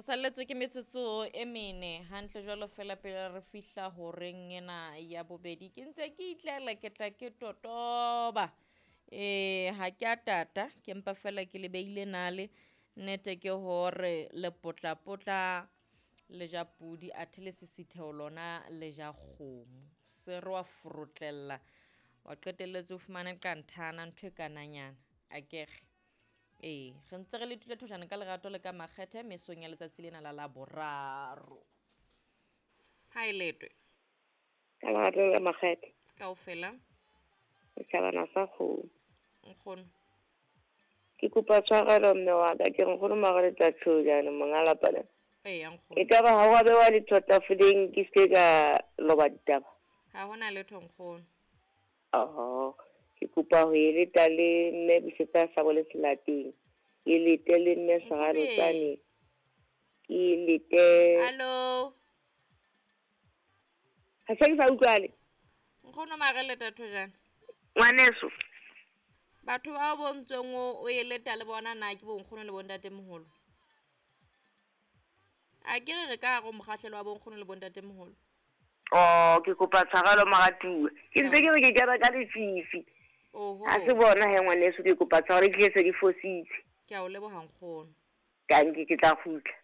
Salletswe ke metsotso e mene hantle jwalo fela pele re fihla horeng ena ya bobedi. Ke ntse ke itlela ke tla ke totoba. Ha ke a tata, ke mpa fela ke le beile nale. Nnete ke hore lepotlapotla le ja pudi athe le sisitheho lona le ja kgomo. Se re wa forotlella wa qetelletse o fumane qanthana ntho e kananyana akere. Ee, re ntse re le thule thojana ka lerato le ka makgethe mesong ya letsatsi lena la Laboraro. Ha e letwe. Ka lerato le ka makgethe. Kaofela. Setjhabana sa kgomo. Nkgono. Ke kopa tshwarelo mme wa ka, ke re nkgono mara le tla tjhojane monga lapa lena. Eya nkgono. E ka ba ha wa bewa letho tafoleng ke se ka loba ditaba? Ha hona letho nkgono. Oho, ke kopa ho e leta le mme Busetsa sa bole selateng. Ke lete le mme Seralotsane. Ke lete. Hallo. Ha se ke sa utlwale. Nkgono mara leta thojana. Ngwaneso. Batho bao bontsweng o e leta le bona na ke bonkgono le bontatemoholo? A ke re re ka hare ho mokgahlelo wa bonkgono le bontatemoholo. Oh, ke kopa tshwarelo moratuwa. Ke ntse ke re ke kena ka lefifi. Oho. Ha se bona he ngwaneso, ke kopa tshwarelo ke se ke fositse. Ke a o leboha nkgono. Tanki ke tla kgutla.